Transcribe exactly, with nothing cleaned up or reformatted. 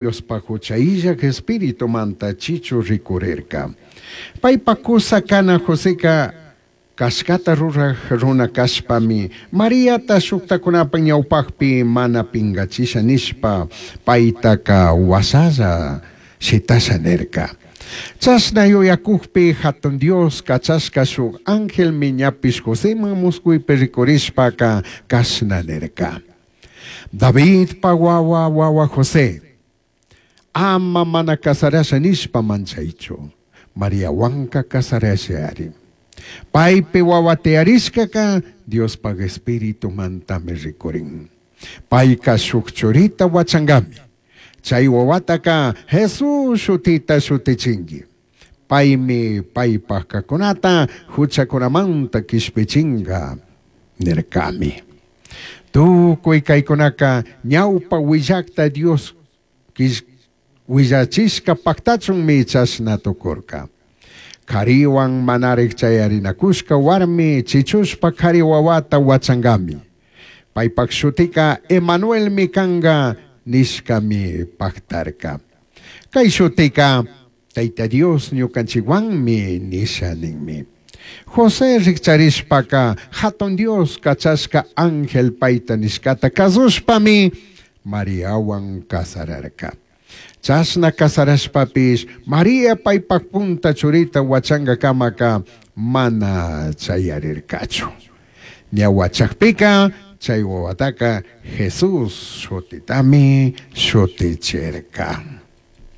Diospaj jucha illaj Espiritumanta chichu ricurirca. Paipaj cusa cana Joseca cashcata ruraj runa cashpami, Mariata shujtajcunapaj ñaupajpi mana pingachisha nishpa paitaca huashalla shitasha nirca. Chashna yuyacujpi Jatun Dios cachashca shuj angelmi ñapish Joseman muscuipi ricurishpaca cashna nirca: Davidpa huahua huahua José, ama mana cazarasha nishpa manchaichu, Mariahuanca cazarashari. Paipi huahua tiyarishcaca Diospaj Espiritumantami ricurin. Paica shuj churita huachangami. Chai huahuataca Jesús shutita shutichingui. Paimi paipaj cajcunata juchacunamanta quishpichinga nircami. Tucui caicunaca ñaupa huillajta Dios huillachishca pactachunmi chashna tucurca. Jarihuan manaraj chayarinacushca huarmi chichushpa jari huahuata huachangami. Paipaj shutica Emanuelmi canga nishcami pactarca. Cai shutica Taita Dios ñucanchijhuanmi nisha ninmi. José rijcharishpaca Jatun Dios cachashca ángel paita nishcata cazushpami Mariahuan cazararca. Chashna cazarashpapish María paipaj punta churita huachangacamaca mana chayarircachu. Ña huachajpica chai huahuataca Jesús shutitami shutichirca.